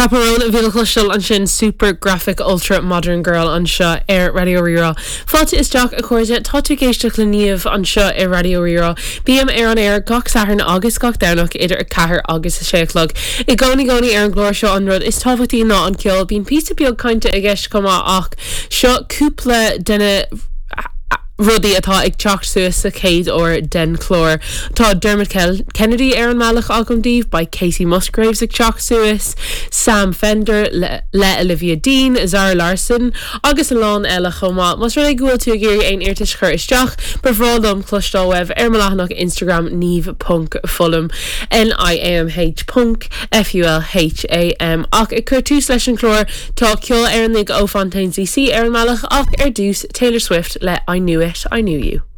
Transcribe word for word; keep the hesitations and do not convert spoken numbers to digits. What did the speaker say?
Chappell Roan a bhí le cloisteáil ansin super graphic ultra modern girl anseo ar Raidió Rí-Rá. Fáilte isteach a chairde tá tú ag éisteacht le Niamh anseo ar Raidió Rí-Rá. Bím ar an aer gach Satharn agus gach Domhnach idir a ceathair agus a sé a chlog. I gcónaí gcónaí ar an gclár seo an rud is tábhachtaí ná an ceol bíonn píosa beag cainte i gceist chomh maith ach seo cúpla de na rudaí atá ag teacht suas sa chéad uair den chlár. Tá Dermot Kennedy ar an mbealach agam daoibh, beidh Kacey Musgraves ag teacht suas, Sam Fender le, le Olivia Dean, Zara Larsson agus a lán eile chomh maith. Más rud é go bhfuil tú ag iarraidh aon iarratas chur isteach, ba bhreá liom cloisteáil uaibh ar mo leathanach Instagram niamh.fulham NIAMH ponc FULHAM ach ag cur tús leis an chlár tá ceol Éireannach ó Fontaines DC ar an mbealach ach ar dtús Taylor Swift le I Knew It, I Knew You.